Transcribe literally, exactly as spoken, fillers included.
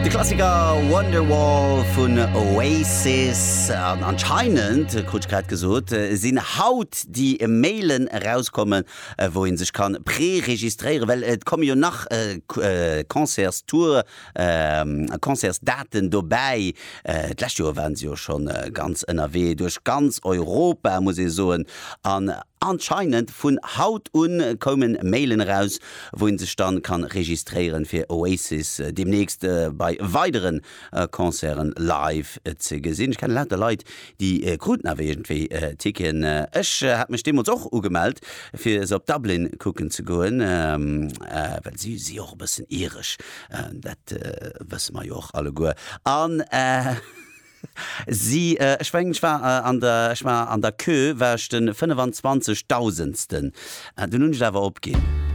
De Klassiker Wonderwall vun Oasis. An anscheinend, krut ech grad gesot, sinn haut déi Mailen erauskommen, wou ee sech kann preregistréieren, well et komme jo nach Concertstour, Concertsdaten dobäi. D'lescht Joer waren se jo schonn ganz ënnerwee duerch ganz Europa, muss ee soen. An anscheinend vun haut un koumen Mailen eraus, wou een sech dann kann registréieren fir Oasis demnächst bei weideren Concerten live ze gesinn. Ech kennen lauter Leit déi kruten awer iergendwéi Ticketen. Ech hat mech deemools och ugemellt fir se op Dublin kucken ze goen, well si si och e bëssen iresch, dat wësse mer jo och alleguer. An si, ech mengen ech war an der, ech war an der Queue war ech de fënnefanzwanzegdausendsten. Dunn hunn ech et awer opginn.